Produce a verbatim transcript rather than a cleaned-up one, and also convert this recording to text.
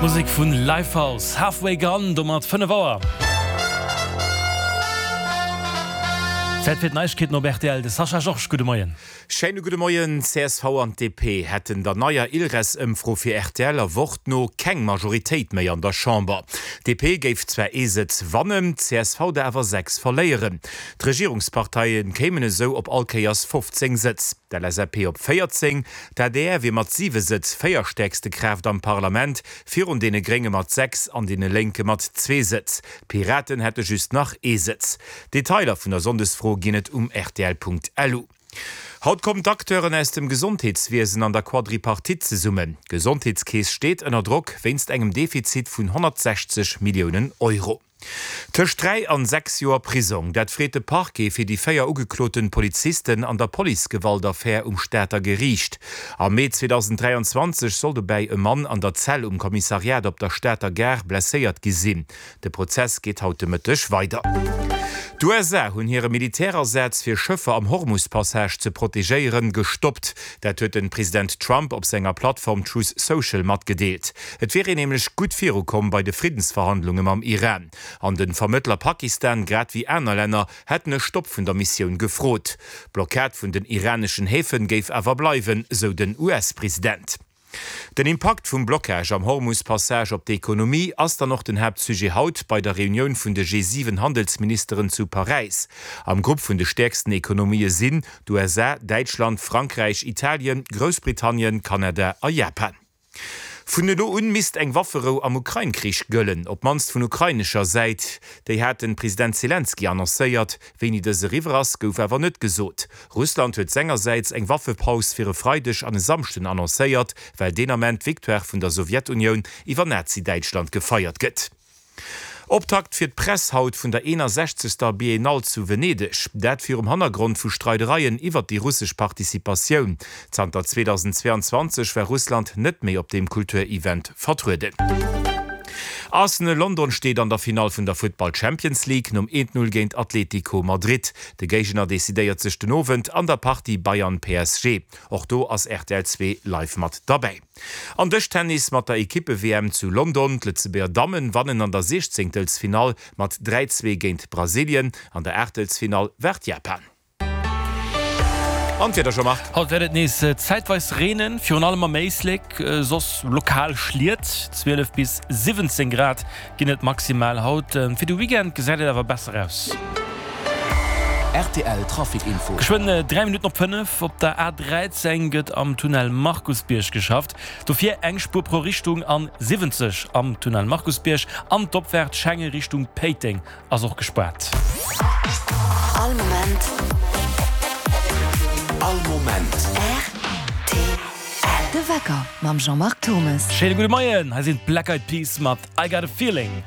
Musek vun Lifehouse, Halfway Gone, domat fënnef Auer. Zäit fir d'Neiegkeeten op rtl, de Sascha Georges, gudde Moien. Schéine gudde Moien. Csv an D P hätten der neier ILReS-Ëmfro fir R T L a Wort no keng Majoritéit méi an der Chamber. D P géif zwar ee Sëtz wannen, C S V der awer sechs verléieren. D'Regierungsparteie kéimen esou op all Kéiers fofzéng Sëtz, d'L S A P op véierzéng, d'A D R wier mat siwe Sëtz véierstäerkste Kraaft am Parlament, virun deene Grénge mat sechs an deene Lénke mat zwee Sëtz. D'Piraten hätte just nach ee Sëtz. Detailer vun der Sonndesfro ginn et um R T L Punkt L U. Haut kommen d'Acteuren aus dem Gesondheetswiesen an der Quadripartite zesummen. D'Gesondheetskeess steet ënner Drock wéinst engem Defizit vun honnertsechzeg Milliounen Euro. Tëscht dräi an sechs Joer Prisong, dat freet de Parquet fir déi véier ugekloten Polizisten an der Policegewaltaffär um Stater Geriicht. Am Mee zweedausenddräianzwanzeg soll dobäi e Mann an der Zell um Kommissariat op der Stater Gare blesséiert gi sinn. De Prozess geet haut de Mëtteg weider. D'U S A hunn hire Militärasaz fir Schëffer am Hormus-Passage ze protegéieren gestoppt. Dat huet de President Trump op senger Plattform Truth Social matgedeelt. Et wier een nämlech gutt virukomm bei de Friddensverhandlunge mam Iran. An de Vermëttler Pakistan, grad wéi aner Länner, hätten e Stopp vun der Missioun gefrot. D'Blockad vun den iraneschen Häfen géif awer bleiwen, sou den U S-President. Den Impakt vum Blockage am Hormus-Passage op d'Ekonomie ass dann och den Haaptsujet haut bei der Reunioun vun de G siwen Handelsministeren zu Paräis. Am Grupp vun de stäerksten Ekonomië sinn d'U S A, Däitschland, Frankräich, Italien, Groussbritannien, Kanada a Japan. Vun elo un misst eng Wafferou am Ukrain-Krich gëllen, op d'mannst vun ukrainescher Säit. Déi hat de President Selenskyj annoncéiert. Wéini dës eriwwer ass, gouf awer net gesot. Russland huet sengersäits eng Waffepaus fir e Freideg an e Samschden annoncéiert, well deen Ament d'Victoire vun der Sowjetunioun iwwer Nazi-Däitschland gefeiert gëtt. Optakt fir d'Press haut vun der eenasechzegster. Biennale zu Venedeg. Dat virum Hannergrond vu Streidereien iwwert déi russesch Participatioun. Zanter zweedausendzweianzwanzeg war Russland net méi op deem Kulturevent vertrueden. Arsenal London steet an der Finall vun der Futtball Champions League nom eent Null géint Atlético Madrid. De Géigner decidéiert sech den Owend an der Partie Bayern P S G. Och do ass R T L zwee live mat derbäi. An Dëschtennis mat der Ekippe-W M zu London. D'Lëtzebuerger Dammen wannen an der Siechzéngtelsfinall mat dräi zwee géint Brasilien. An der Aachtelsfinall waart Japan. An d'Wieder, Jean-Marc. Haut wäert et nees zäitweis reenen, virun allem am Éislek, soss lokal Schliet. zwielef bis siwwenzéng Grad ginn et maximal haut. Fir de Weekend gesäit et awer besser aus. R T L Trafic Info. Geschwënn dräi Minutten op fënnef, Op der A dräizéng gëtt am Tunnel Markusbierg geschafft. Dofir eng Spuer pro Richtung an siwwenzeg am Tunnel Markusbierg an d'Opfaart Schenge Richtung Péiteng ass och gespaart. All Moment. All Moment. R T L. De Wecker mam Jean-Marc Thommes. Schéine gudde Moien, hei sinn d'Black Eyed Peas mat I Got a Feeling.